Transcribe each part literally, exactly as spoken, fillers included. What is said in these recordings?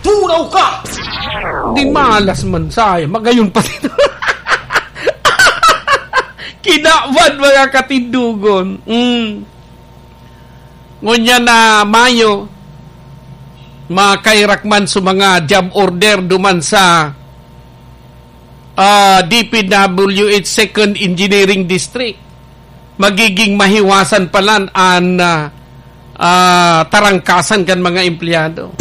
Turaw ka! Di malas man saya, magayon pa dito. Kinawan, mga katindugon. Mm. Ngunyan na Mayo, makairak man sa mga job order duman sa, ah, D P W H Second Engineering District. Magiging mahiwasan palan an, ah, ah, tarangkasan kan mga empleyado.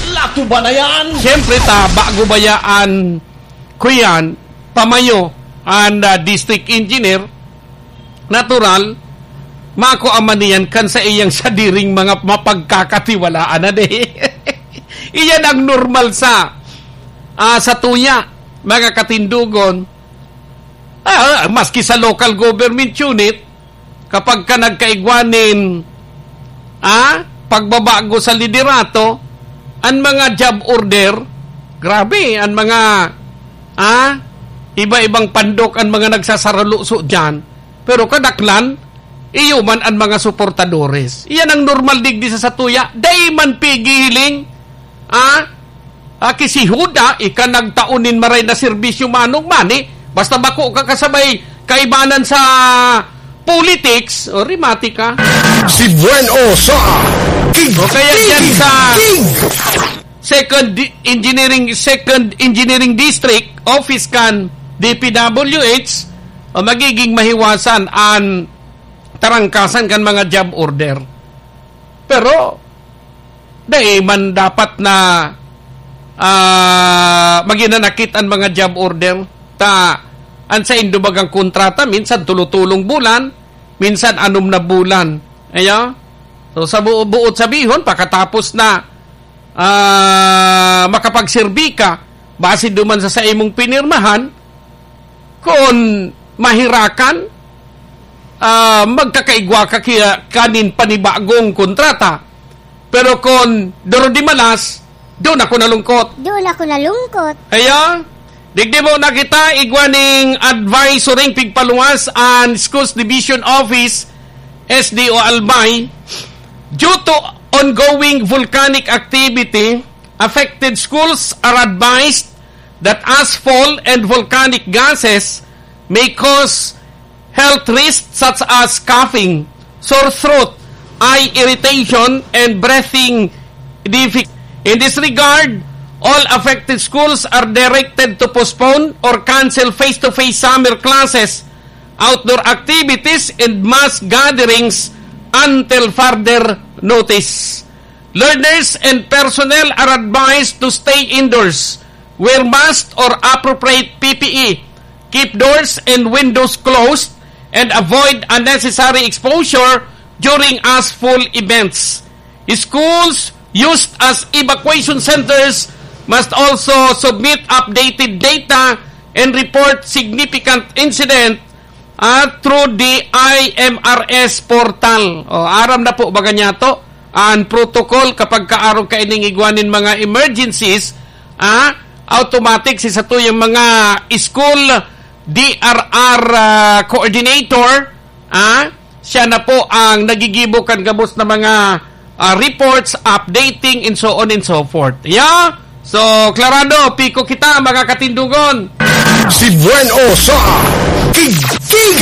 Lato ba na yan? Siyempre, ta, bago bayaan ko yan, pamayo an, ah, district engineer, natural, makuaman niyan kan sa iyang sadiring mga mapagkakatiwalaan na di. Iyan ang normal sa, ah, sa tuya, mga katindugon. Ah, maski sa local government unit, kapag ka nagkaigwa nin, ah, pagbabago sa liderato, an mga job order, grabe, an mga, ah, iba-ibang pandok an mga nagsasaraluso diyan. Pero kadaklan, iyo man an mga suportadores. Iyan ang normal digdi sa satuya. Dai man pigihiling, ah, ah, ki si Juda, ika nagtao nin maray na serbisyo manong mani, basta bako ka kasabay kaibanan sa politics, o rimati ka. Si Buen O sa King, O kaya dyan King, sa King. Second Di-, Engineering, Second Engineering District Office kan D P W H, o magiging mahiwasan an tarangkasan kan mga job order. Pero, dai man dapat na, ah, maginanakit an mga job order. Ta, an saindo bagang kontrata, minsan tulo-tulong bulan, minsan anom na bulan. Ayo? So, sa bu-, buot sabihon, pakatapos na, ah, makapagserbi ka, base duman sa saimong pinirmahan, kun mahirakan, ah, magkakaigwa ka kiya, kanin panibagong kontrata. Pero kun duro di malas, doon ako nalungkot. Doon ako nalungkot. Kaya, digdi mo na kita, igwa ning advisory pigpaluwas an Schools Division Office, S D O Albay, due to ongoing volcanic activity, affected schools are advised that ash fall and volcanic gases may cause health risks such as coughing, sore throat, eye irritation, and breathing difficulty. In this regard, all affected schools are directed to postpone or cancel face-to-face summer classes, outdoor activities, and mass gatherings until further notice. Learners and personnel are advised to stay indoors, wear masks or appropriate P P E, keep doors and windows closed, and avoid unnecessary exposure during ashfall events. Schools used as evacuation centers must also submit updated data and report significant incident, ah, through the I M R S portal. O, aram na po baga niyato an protocol kapag kaarog kaining igwa nin mga emergencies, ah, automatic si satuyang mga school D R R, ah, coordinator, ah, siya na po ang nagigibo kan gabos na mga, ah, reports, updating, and so on and so forth. Yeah? So, klarado, piko kita, mga katindugon. Si Buen O sa King, King,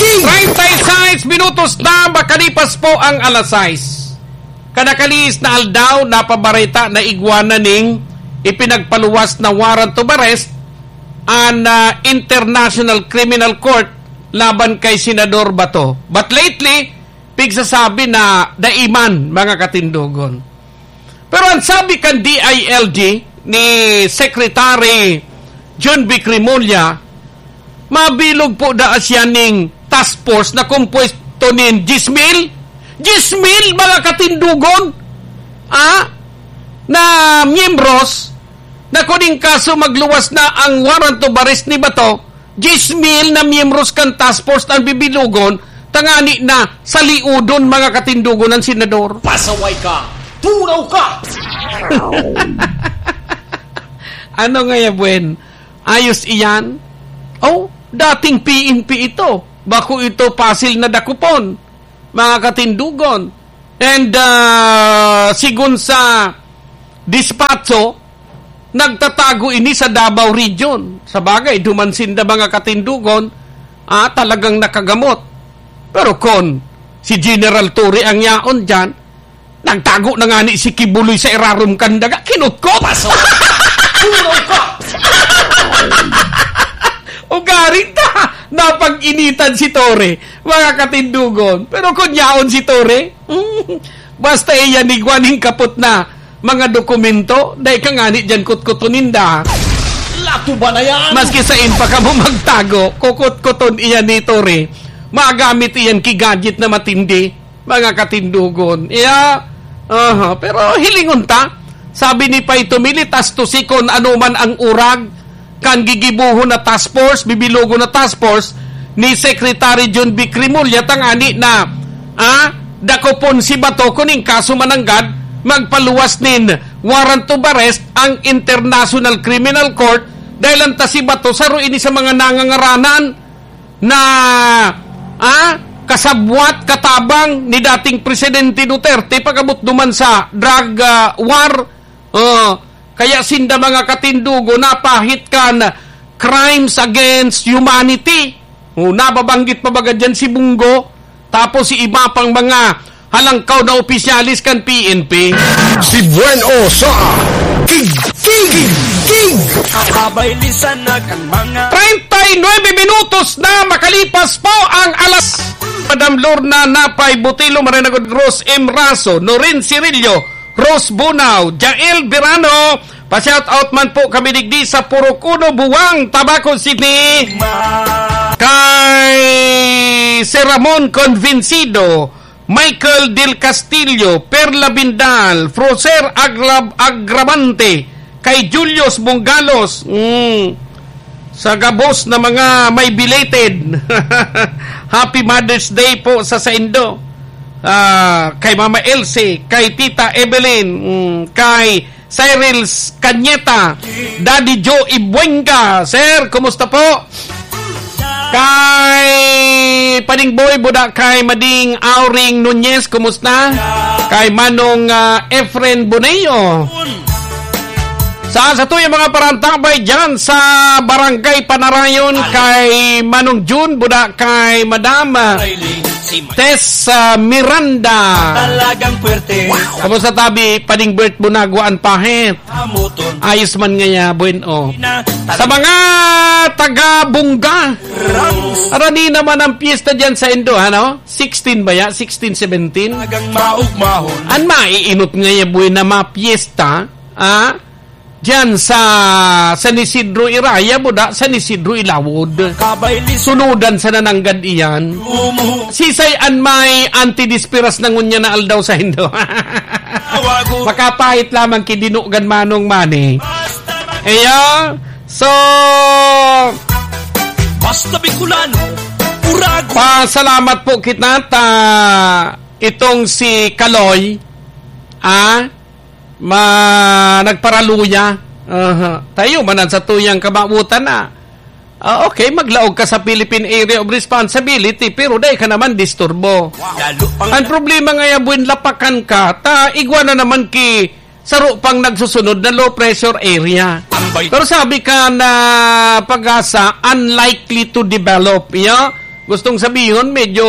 King. Treinta y seis minutos na makalipas po ang alas sais. Kanakalihis na aldaw, napabareta na igwa na ning ipinagpaluwas na warrant of arrest an, ah, International Criminal Court laban kay Senador Bato. But lately, pigsasabi na dai man, mga katindogon. Pero ang sabi kan D I L G ni Secretary John Vic Remulla, mabilog po daa siya ning task force na kompuesto nin diyes mil. Diyes mil, mga katindogon, ah, na miyembros na kuning kaso magluwas na ang warrant of arrest ni Bato, diyes mil na miyembros kan task force ang bibilogon, tangani na saliudon, mga katindogon, ang senador. Pasaway ka! Turaw ka! Ano nga ya, Buen? Ayos iyan? Oh, dating P N P ito. Bako ito pasil na dakopon, mga katindogon. And, ah, sigon sa Despacho, nagtatago ini sa Davao Region. Sa bagay, duman sinda, mga katindogon, ah, talagang nakagamot. Pero kun si General Torre ang yaon diyan, nagtago na ngani si Quiboloy sa irarom kan daga, kinutkot! Paso! Puro ka! Ugaring ta! Napag-initan si Torre, mga katindogon. Pero kun yaon si Torre, basta iyan igwa nin kapot na mga dokumento, dai ka ngani diyan kutkuton ninda. Lato ba na yan? Maski sain pa kamo magtago, kukutkuton iyan ni Torre. Magamit iyan ki gadget na matindi, mga katindogon. Iya, aha, pero hilingon ta, sabi ni Pay Tomilitas to si kun ano man ang urag, kan gigibohon na task force, bibilogon na task force ni Secretary John Vic Remulla, tangani na, ah, dakopon si Bato kun in kaso mananggad, magpaluwas nin warrant of arrest ang International Criminal Court, dahil ang ta si Bato, saro ini sa mga nangangaranan na, ah, kasabwat, katabang ni dating Presidente Duterte pag-abot duman sa drug, ah, war. Oh, kaya sinda, mga katindogon, napahit kan crimes against humanity. Oh, nababanggit pa baga diyan si Bungo, tapos si iba pang mga halangkaw na opisyales kan P N P. Si Bueno sa Tig, Tig, Tig. Abay, lisan na kan mga treinta y nueve minutos na makalipas po ang alas. Madam Lorna Napay Butilo, Marinagod Rose M. Raso, Norin Cirillo, Rose Bunao, Jael Verano, pa-shout out man po kami digdi sa Purok Uno, Buwang, Tabaco City. Kay Sir Ramon Convencido, Michael Del Castillo, Perla Bindal, Froser Aglab-, Agramante, kay Julius Bunggalos, mm, sa gabos na mga may belated. Happy Mother's Day po sa saindo. Ah, kay Mama Elsie, kay Tita Evelyn, mm, kay Cyril Cañeta, Daddy Joe Ibuenga. Sir, kumusta po? Kay Pading Boy, buda kay Mading Auring Nunez, kumusta? Kay Manong, ah, Efren Boneo. Sa, sa tuyang mga parantabay dyan sa Barangay Panarayon, kay Manong Jun, buda kay Madam, ah, Tess, ah, Miranda. Talagang puwerte. Kamusta tabi, Pading Bert Bunagwa, an pahit? Ayos man ngaya, bueno. Sa mga taga Bunga, arani naman ang piyesta dyan sa Indo, ano? Sixteen ba ya? Sixteen, seventeen? An maiinot ngaya, buena, mga piyesta, ah? Diyan sa San Isidro Iraya, buda, San Isidro Ilawod. Sunudan sa nananggad iyan. Sisay an may antidispiras na ngunyan na aldaw sa Indo? Makapahit lamang ki Dinogan Manong Manny. Iya, so, Basta Bicolano, Urago. Pasalamat po kita ta itong si Kaloy, ah, ma-, nagparaluya. Aha. Tayo man ang sa tuyang kamawotan na. Ah, okay, maglaog ka sa Philippine Area of Responsibility, pero dai ka naman disturbo. Lalo pang Ang problema ngaya, buwin lapakan ka, ta igwa na naman ki saro pang nagsusunod na low pressure area. Ambay. Pero sabi ka na Pag-asa, unlikely to develop. Iya, gustong sabihon, medyo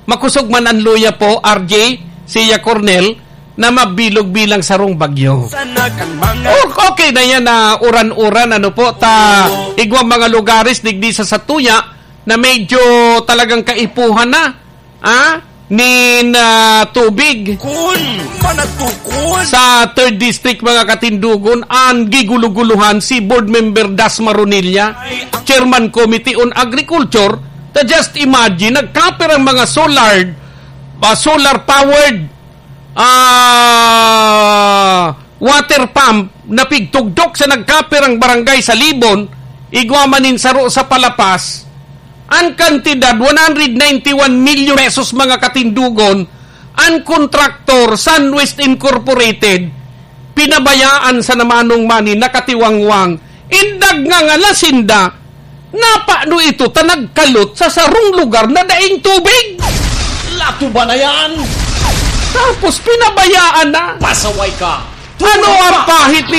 makusog man ang luya po, R J, siya Cornel, na mabilog bilang sarong bagyo. Sana kan mga O-, okay na yan na uran-uran, ano po, ta Oo. igwang mga lugares digdi sa satuya na medyo talagang kaipuhan na, ah, nin, ah, tubig. Kun, manatukon. Sa third District, mga katindogon, ang giguluguluhan si Board Member Das Maronilla, Ay, ang Chairman Committee on Agriculture, ta just imagine, nagkapir ang mga solar, ah, solar powered, ah, water pump na pigtugdok sa nagkapirang barangay sa Libon, igwa man nin saro sa Palapas, an kantidad, one hundred ninety-one million pesos, mga katindogon, an kontraktor, Sunwest Incorporated, pinabayaan sa namanong mani nakatiwangwang, indag nga ngala sinda, Napano ito ta nagkalot sa sarong lugar na daing tubig? Lato ba na yan? Tapos pinabayaan na. Pasaway ka! Ano ang pahit ni